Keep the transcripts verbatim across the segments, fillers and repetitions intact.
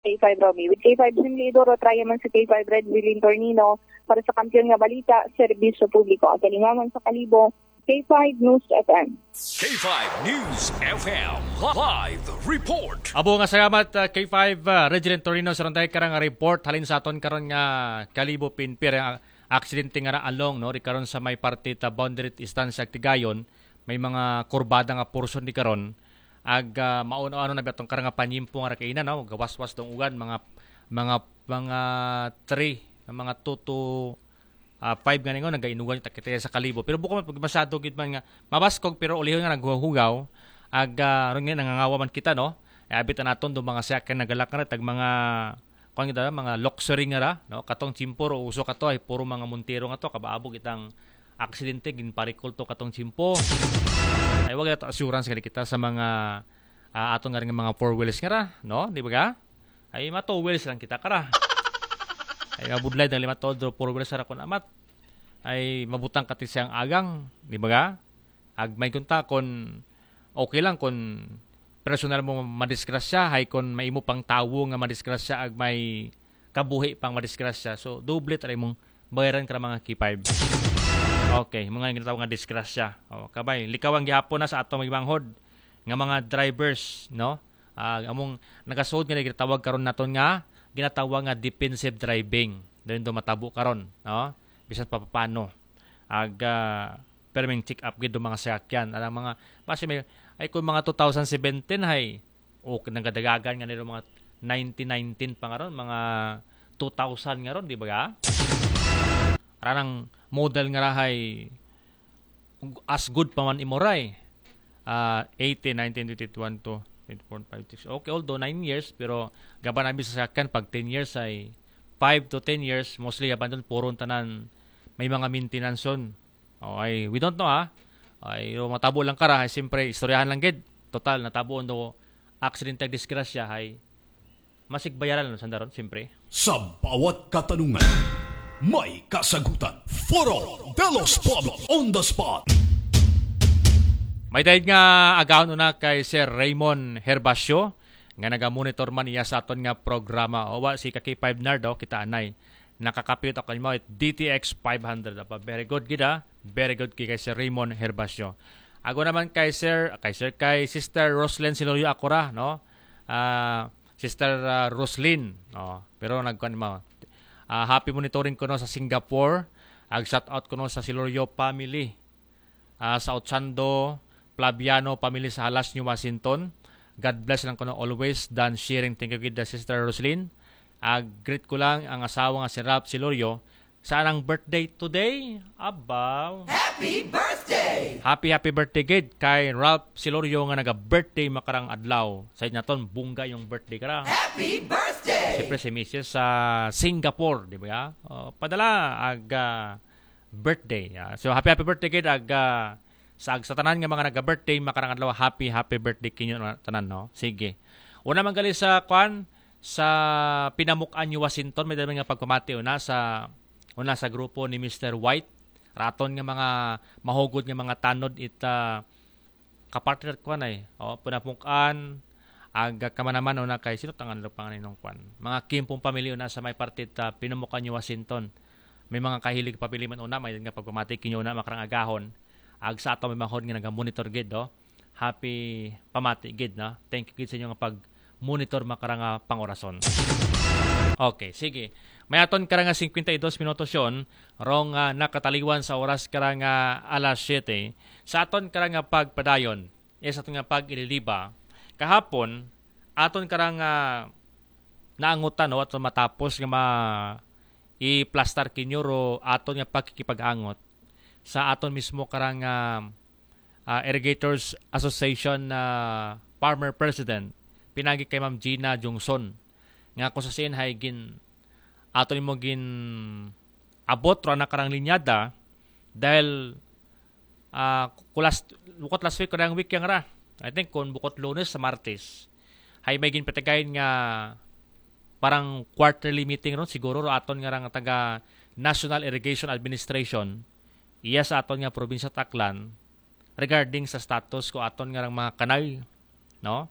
K five Romy. With K five Jim Lidoro, try naman sa K five Red Willing Tornino. Para sa kampiyon nga balita, serbisyo publiko. Agalingangan sa Kalibo, K five News F M. K five News F M live report. Abo nga salamat uh, K five uh, Regilin Torino sa ronday karang report halin sa aton karon nga Kalibo Pinpir ang aksidente nga ra along no ri karon sa may parte ta boundary istansya Tigayon may mga kurbada nga portion di karon ag uh, mauno ano na biya tong karang nga panyimpo nga ra kaina no gawaswas tong uwan mga mga mga three mga two to uh, five nga ningon nagainugan ta kita sa Kalibo pero buko man pag masyado gid man nga mabaskog pero ulihon nga naghuhugaw ag uh, ron nga nangangawa man kita no ay abit naton do mga sakyan nagalak na tag mga kuan kita mga luxury nga ra no katong tiempo ro uso kato ay puro mga montero nga to kabaabog itang aksidente ginparikol to katong tiempo ay wag ta assurance gani kita sa mga uh, ato nga rin mga four wheels nga ra no di ba ay ma two wheels lang kita kara ay mabudlay dang lima todo four wheels ra kun amat ay mabutang kati siyang agang di ba ag may kunta kun okay lang kun personal mo madisgrasya hay kun may imo pang tawo nga madisgrasya ag may kabuhi pang madisgrasya so doble ta imong bayaran kara mga K five okay mga ginatawag nga disgrasya oh, kabay likawan gihapon na sa atong mga manghod nga mga drivers no uh, among nagasuod nga ginatawag karon naton nga ginatawag nga defensive driving dahil do matabo karon no bisan pa paano ag uh, perming check up gid do mga sakyan anang mga basi may ay kung mga two thousand seventeen hay o nagadagagan nga nila mga nineteen nineteen pa nga ron mga two thousand nga ron di ba ranang model nga rahay as good pa man imoray uh, eighteen, nineteen, twenty-one to twenty-four, five, six. Okay, although nine years, pero gaban namin sa sakyan, pag ten years ay five to ten years, mostly gaban doon, puro tanan may mga maintenance on. Oh, ay, we don't know ha. Ay, matabo lang kara, ay, siyempre, istoryahan lang gid. Total, natabo on do accident ag disgrasya, ay, masigbayaran lang sandaron, siyempre. Sa bawat katanungan, may kasagutan. Foro de los Pueblos on the spot. May dahil nga agaon una kay Sir Raymond Herbacio nga nagamonitor man iya sa aton nga programa. O wa si Kaki five Nardo, kita anay. Nakakapit ako mo D T X five hundred apa. Very good gid ha. Very good kay Sir Raymond Herbacio. Ago naman kay Sir, kay Sir kay Sister Roslyn Silorio Akora, no? Ah, Sister uh, Roslyn. Oh, pero nagkuan mo. Uh, happy monitoring ko no sa Singapore. Ag shout out ko no sa Silorio family. Uh, sa Ochando, Plaviano family sa Halas, New Washington. God bless lang ko no always. Dan sharing. Thank you gid Sister Roslyn. Ag greet ko lang ang asawa nga si Ralph Silorio sa anang birthday today. Abaw. Happy birthday! Happy happy birthday gid kay Ralph Silorio nga naga-birthday makarang adlaw. Sa naton bungga yung birthday kara. Happy birthday! Siyempre si Missus sa Singapore, di ba? Uh, padala ag uh, birthday. Uh, so happy happy birthday gid ag uh, sa ag sa tanan nga mga naga-birthday makarang adlaw happy happy birthday kinyo tanan no. Sige. Una man gali sa kwan sa Pinamukan New Washington may dami nga pagpamati una sa una sa grupo ni Mister White raton nga mga mahugod nga mga tanod ita kapartner kwan ay o Pinamukan ag kamanaman una kay sino tangan lo panganinong kwan mga Kimpong pamilya una sa may parte ta Pinamukan New Washington may mga kahilig papili man una may nga pagpamati kinyo na makarang agahon ag sa ato may mahod nga naga-monitor gid do happy pamati gid na thank you gid sa inyo nga pag monitor makarang pangorason. Okay, sige. May aton karang fifty-two minutos yon rong uh, nakataliwan sa oras karang alas siyete. Sa aton karang pagpadayon, is aton nga pag-ililiba, kahapon, aton karang uh, naangutan no, aton matapos nga ma iplastar kinyo ro aton nga pagkikipag-angot sa aton mismo karang uh, uh, Irrigators Association na uh, former president pinagi kay Ma'am Gina Jungson nga kung sa siin hay gin ato nimo gin abot ro na karang linyada dahil uh, kulas bukot last week karang week yang ra I think kung bukot Lunes sa Martes hay may ginpatagayon nga parang quarterly meeting ron siguro ro aton nga rang taga National Irrigation Administration iya sa aton nga probinsya Taclan regarding sa status ko aton nga rang mga kanal no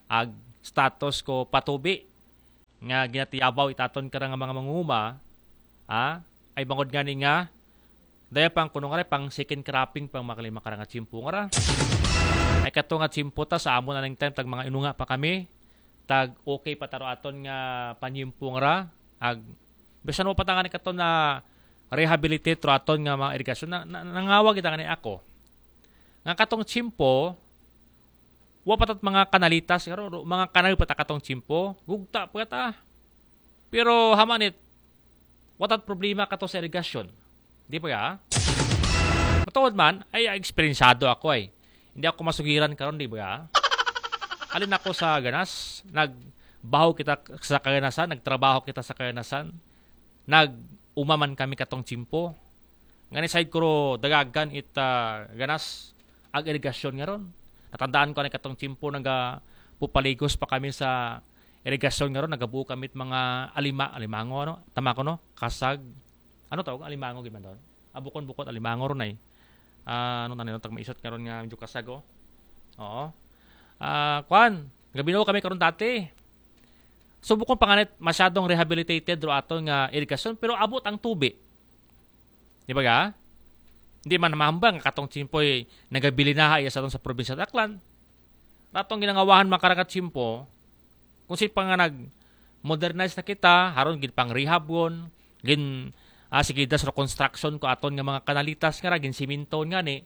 ag status ko patubi nga ginatiyabaw it aton kara nga mga mangunguma, ha? Ay bangod ngani nga daya pang kuno nga pang second cropping pang makalima kara nga tiyempo nga ra. Ay kato nga tiyempo ta sa amo na ning time tag mga inunga pa kami, tag okay pa ta ro aton nga panyempo nga ra, ag bisan wa pa ta ngani kato na rehabilitate ro aton nga mga irigasyon na, na, nangawag kita ngani ako nga katong tiyempo wa pa tat mga kanalitas nga ro, mga kanal pa ta katong tiyempo, gugta pa ta. Pero hamanit, wa tat problema kato sa irigasyon. Di ba ya? Matuod man, ay eksperyensado ako ay. Hindi ako masugiran karon, di ba ya? Alin ako sa ganas, nagbaho kita sa kaganasan, nagtrabaho kita sa kaganasan, nag-umaman kami katong tiyempo. Ngani side ko ro dagagan it ah, ganas ag irigasyon nga ron. Natandaan ko na katong tiyempo naga pupaligos pa kami sa irigasyon nga ron, nagabuo kami it mga alima, alimango, ano? Tama ko, no? Kasag. Ano tawag? Alimango gid man daw. Ah, bukon-bukon alimango ron ay. Ah, ano tanin tag maisot nga ron nga medyo kasag, oh. Oo. Ah, kwan, gabinuo kami karon dati. So bukon pa nga nit masyadong rehabilitated ro aton nga irigasyon, pero abot ang tubi. Di ba ga? Hindi man mahambal nga katong tiyempo'y nagabilin na iya sa aton sa probinsya sa Aklan. Ratong ginangawahan makaragat tiyempo, kung si pa nga nag-modernize na kita, haron gin pang rehab gon, gin ah, sige das reconstruction ko aton nga mga kanalitas nga ra, gin siminto nga ni.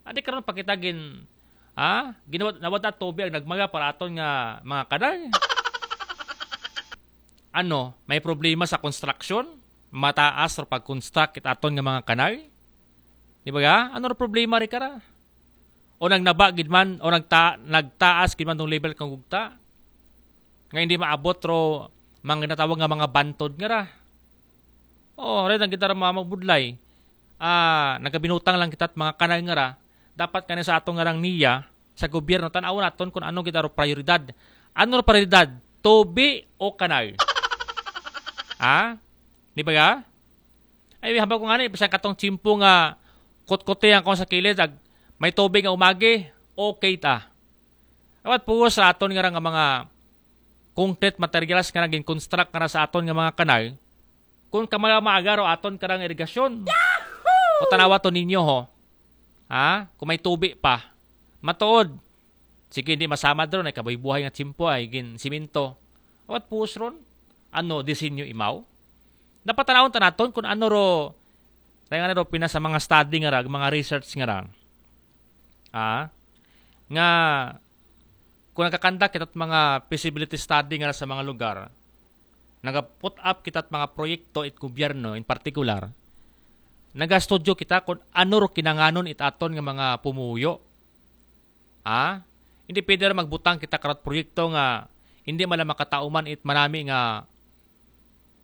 Adi karon pa kita gin ah, ginawa nawad na tubig ang nagmaga para aton nga mga kanal. Ano, may problema sa construction? Mataas ro pag-construct it aton nga mga kanal? Di ba ga? Ano ro problema ri kara? O nagnaba gid man, o nagta, nagtaas gid man tong level kang gugta? Nga hindi maabot ro mga ginatawag nga mga bantod nga ra. O, rin ang kita ra mga magbudlay. Ah, nagabinutang lang kita at mga kanal nga ra. Dapat kani sa ato nga rang niya, sa gobyerno, tan-awon naton kung ano kita ro prioridad. Ano ro prioridad? Tubi o kanal? Ha? Di ba ga? Ay, hambal ko nga ni, bisan katong tiyempo nga kutkuti ang kung sa kilid, ag, may tubig nga umagi, okay ta. Awat puos sa aton nga ra nga mga concrete materials nga naging construct nga ra sa aton nga mga kanal, kung kamala maaga ro aton karang irigasyon. O tanawa to ninyo ho. Ha? Kung may tubi pa. Matuod. Sige, hindi masamad ron, ay kabuhi-buhay nga tiyempo, ay gin siminto. Awat puos ron? Ano, disenyo imaw? Dapat tanawon ta naton kung ano ro, tayo nga ro, pina sa mga study nga ra, mga research nga ra. Ah? Nga, kung nagkakandak kita mga feasibility study nga ra sa mga lugar, naga-put up kita mga proyekto it gobyerno in particular, nagastudyo kita kung ano ro kinanganon it aton nga mga pumuyo. Ha? Hindi pwede ra magbutang kita karot proyekto nga hindi man lang makatauman it manami nga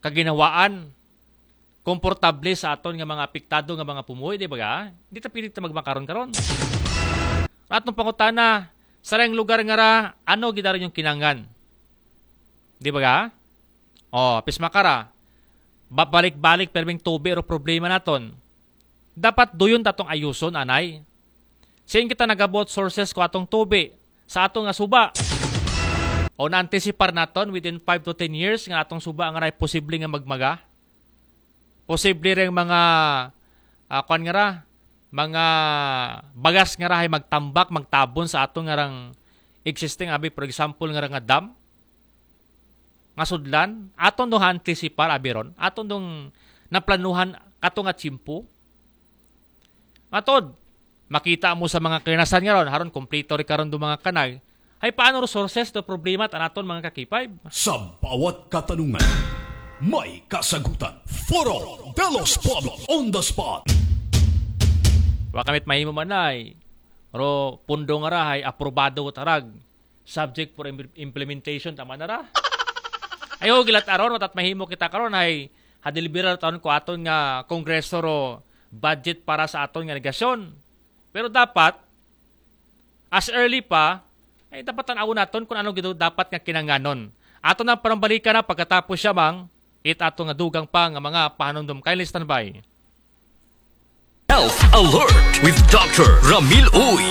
kaginhawaan, komportable sa aton nga mga apektado nga mga pumuyo, di ba ga? Hindi ta pwede ta magmakaron karon. Atong pangutana, sa rayong lugar nga ra, ano gid ra inyong kinanglan? Di ba ga? O, pisma ka ra. Babalik-balik perming tubi ro problema naton. Dapat duyon ta tong ayuson, anay. Sin kita nagabot sources ko atong tubi sa ato nga suba? O naantisipar naton within five to ten years nga atong suba nga ray posible nga magmaga? Posible ring mga, ah, kwan nga ra, mga bagas nga ra hay magtambak, magtabon sa ato nga rang existing, abi, for example, nga ra nga dam? Nga sudlan, aton dong antisipar, abi ron, aton dong naplanuhan kato nga tiyempo. Matod, makita mo sa mga kaganasan nga ron, haron kompleto ri karon do mga kanal, hay paano resources do problema ta naton mga ka-K five? Sa bawat katanungan, may kasagutan. Foro de los Pueblos on the spot. Wa kamit mahimo man ay, ro pundo nga ra hay aprobado ta rag subject for im- implementation, tama na ra. Ayo, gilat aron, watat mahimo kita karon hay hadeliberar taon ko aton nga kongreso ro budget para sa aton nga irigasyon. Pero dapat, as early pa, ay dapat tan-awon naton kung ano gid dapat nga kinanganon. Aton ang panambalikan na pagkatapos siya mang it ato nga dugang pa nga mga pahanumdom. Kindly stand by. Health Alert with Doctor Ramil Uy.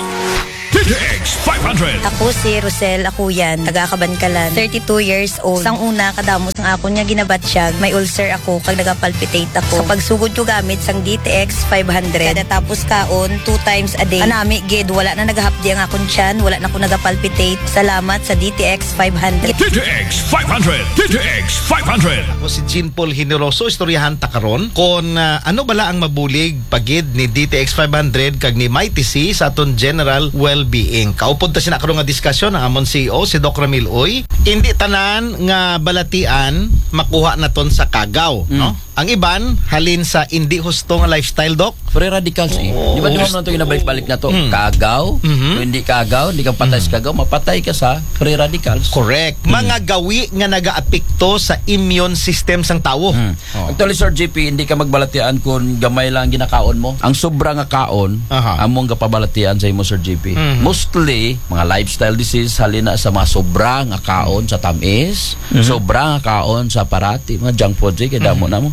X five hundred. Ako si Rosel Akuyan, taga Kabankalan, thirty-two years old. Sang una, kadamo sang akon nga ginabatyag, may ulcer ako, kag nagapalpitate ako. Sa pagsugod ko gamit sang D T X five hundred, kada tapos kaon, two times a day. Anami gid, wala na nagahapdi ang akon tiyan, wala na ko nagapalpitate. Salamat sa D T X five hundred. D T X five hundred. D T X five hundred. Ako si Jean Paul Generoso, istoryahan ta karon kon ah, ano bala ang mabulig pagid ni D T X five hundred kag ni Mighty C sa aton general well-being. Kaupod ta sina karon nga diskusyon ang amon C E O, si Doc Ramil Uy. Hindi tanan nga balatian makuha naton sa kagaw, no? Ang iban halin sa hindi husto nga lifestyle, Doc. Free radicals eh. Di ba, di ba naman ito ginabalik-balik na to? Kagaw, kung hindi kagaw, hindi ka patay sa kagaw, mapatay ka sa free radicals. Correct. Mga gawi nga nagaapekto sa immune system sang tawo. Actually, Sir G P, hindi ka magbalatian kung gamay lang ginakaon mo. Ang sobra nga kaon, Aha. Among kapabalatian sa imo, Sir G P. Mostly, mga lifestyle disease, halin na sa mga sobra nga kaon sa tamis, sobra nga kaon sa parati, mga junk food, eh, kay damo na mo.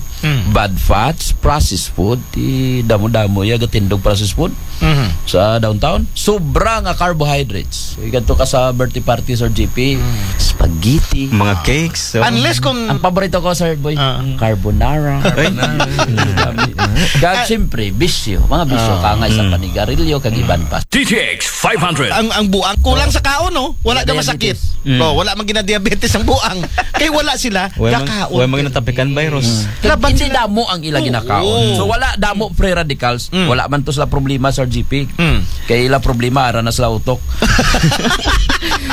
Bad fats, processed food, ti damo-damo ya gatindog processed food sa downtown. Sobra nga carbohydrates. Igadto ka sa birthday party, Sir G P, spaghetti. Mga cakes. So, Unless kung Ang paborito ko, Sir Boy, Ah. carbonara. Kag siyempre, bisyo. Mga bisyo, kangay sa panigarilyo, kag iban pa. D T X five hundred. ang ang buang kulang sa kaon, no? Wala na Diabetes. masakit. No, wala man ginadiabetes ang buang. Kay wala sila Wala man- kakaon. wala man ginatropikan virus. Laban Hindi sila. Damo ang ila ginakaon. Oo. So wala damo free radicals, wala man to sila problema, Sir G P. Mm. Kay ila problema ara na sila utok.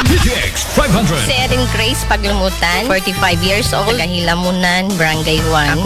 D T X five hundred. Si Erin Grace Paglumutan, forty-five years old, taga Hilamunan, Barangay one.